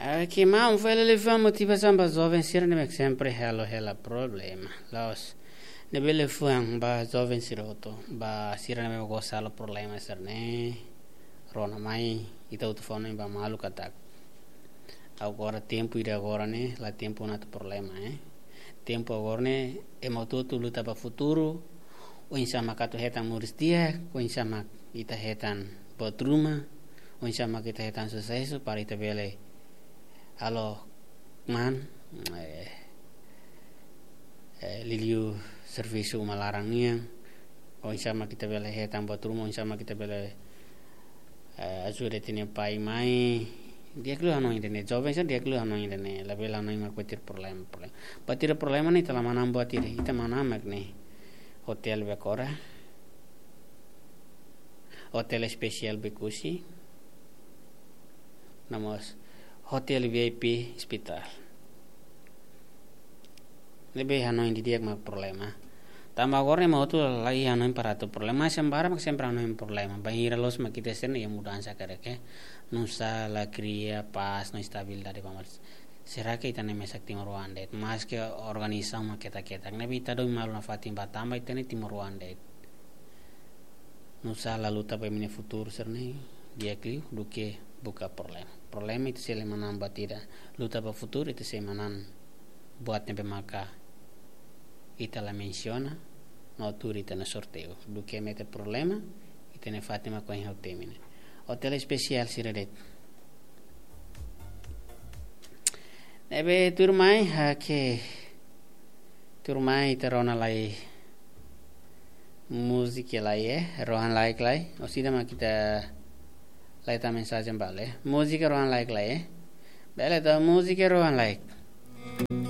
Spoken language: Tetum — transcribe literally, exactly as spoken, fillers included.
Ah, ke maun fali liafuan motivasaun ba joven sira ne'ebé sempre halo hela problema. La'ós ne'ebé liafuan ba joven sira hotu, ba sira ne'ebé gosta halo problema sira-ne'e. Rona mai, ita hotu fó hanoin ba malu katak agora tempu ida agora ne'e, la tempu atu problema, eh. Tempu agora ne'e, ema hotu-hotu luta ba futuru, oinsá mak atu hetan moris di'ak, oinsá mak ita hetan buat ruma, oinsá mak ita hetan susesu, para ita bele halo kmaan, eh, eh, liuliu servisu uma laran nian, oinsá mak ita bele hetan buat ruma, oinsá mak ita bele, eh, ajuda ita-nia pai mai. Di'ak liu hanoin ida-ne'e, joven sira di'ak liu hanoin ida-ne'e, labele hanoin mak buat ida problema, problema. Buat ida problema ne'e ita la manán buat ida, ita manán mak ne'e. Hotel Bekora, hotel espesiál Bekusi, no mós hotel V I P hospital. Ne'ebé hanoin didi'ak mak problema. Tanba agora ema hotu la iha hanoin para atu problema, sembara mak sempre hanoin problema. Bainhira loos mak ita sente iha mudansa karik, eh. Nusá la kria pás no estabilidade ba malu. Será ke ita-nia mesak timoroan de'it? Maske organizasaun mak ketak-ketak, ne'ebé ita domin malu nafatin ba tanba ita-nia timoroan de'it. Nusá la luta ba imi-nia futuru sira-ne'e di'ak liu duké buka problema. Problema ita sei la manán buat ida. Luta ba futuru ita sei manán buat ne'ebé maka ita la mensiona, no tuur ita-nia sorteiu. Duké mete problema, ita-nia fatin mak ohin ha'u temi ne'e. Hotel espesiál sira de'it. Ne'ebé tuirmai, oke. Tuirmai ita rona lai múzika lai, eh, rohan-laek lai. Orsida mak ita lai hetan mensajen ba lae. Múzika rohan-laek lai, eh. Bele ita múzika rohan-laek.